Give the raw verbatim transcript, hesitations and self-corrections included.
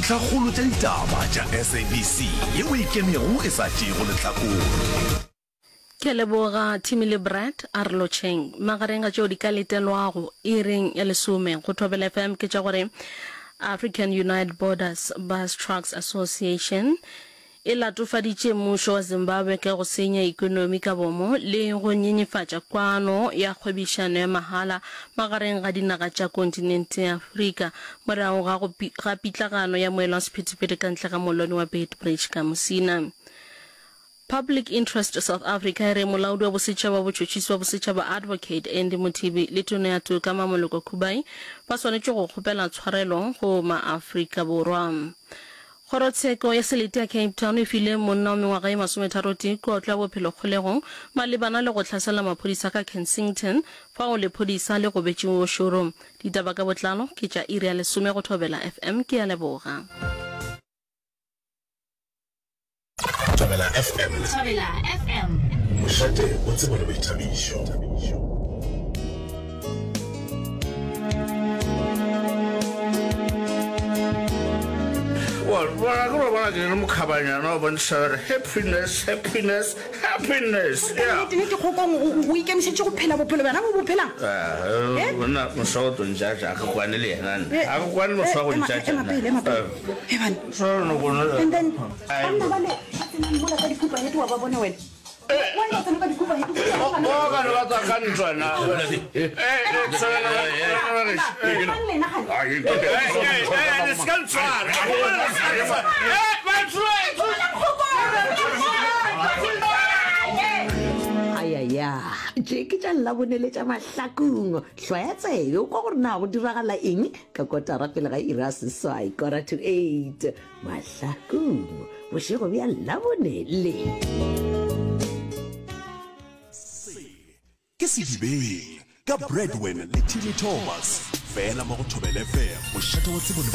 Dintlhakgolo tša ditaba tša S A B C yeo e ikemego e sa tšeego lehlakore. Ke a leboga Timmy le Brad, a re lotšheng. Magareng ga tšeo di ka letelwago iring ya lesome go Thobela F M ke tša gore African Unite Borders Bus Trucks Association e latofaditše mmušo wa Zimbabwe ka go senya ekonomi ka bomo le go nyenyefatša kwano ya kgwebišano ya mahala magareng ga dinaga tša kontinente ya Afrika morago ga go ga pitlagano ya moelo wa sephethephethe ka ntle ga mollwane wa Beitbridge ka Musina. Public Interest South Africa e re molaodi wa bosetšhaba wa botšhotšhisi wa bosetšhaba Advocate Andy Mothibi le tona ya toka Mamoloko Kubayi ba swanetše go kgopela tshwarelo go maAfrika Borwa. Kgorotsheko ya selete ya Cape Town e file monna wa mengwaga ye masometharotee kotlo ya bophelo kgolegong malebana le go hlasela maphodisa ka Kensington fao lephodisa le gobetšego o šoro. Ditaba ka botlalo ke tša iri ya lesome go Thobela F M. Ke a leboga. Thobela F M. Thobela F M. Mošate o tsebo le boithabišo. Well, bona ke bona ke le mokhabanyana o bontšha gore happiness, happiness, happiness. Yeah. Nnete nnete Kgokong o ikemišetše go phela bophelo bjana bo bo phelang? Eh, monna moswa o tlo ntšatša, a ke kwane le yena nna. A ke kwane le moswa go ntšatša Ema nna. pele, ema pele. He bana. So no kono. And then banna ba le ba tsenang mola ka dikhupa hete wa ba bona wena. Why ba tsena ka dikhupa hete? O ka no ba tswa ka ntwa na. Eh, eh, tswela, Mang lena gane? Eh, eh, eh, le se ka ntshwara. Eh, batho. Ayaya, tše ke tša Labone le tša Mahlakung. Hlwaya tsebe o kwa gore na go diragala eng ka kotara pele ga iri ya seswai, quarter to eight. Mahlakung, bošego bja Labone le. Se ke Sedibeng ka Bradwin le Timmy Thomas, fela mo go Thobela F M, mošate wa tsebo le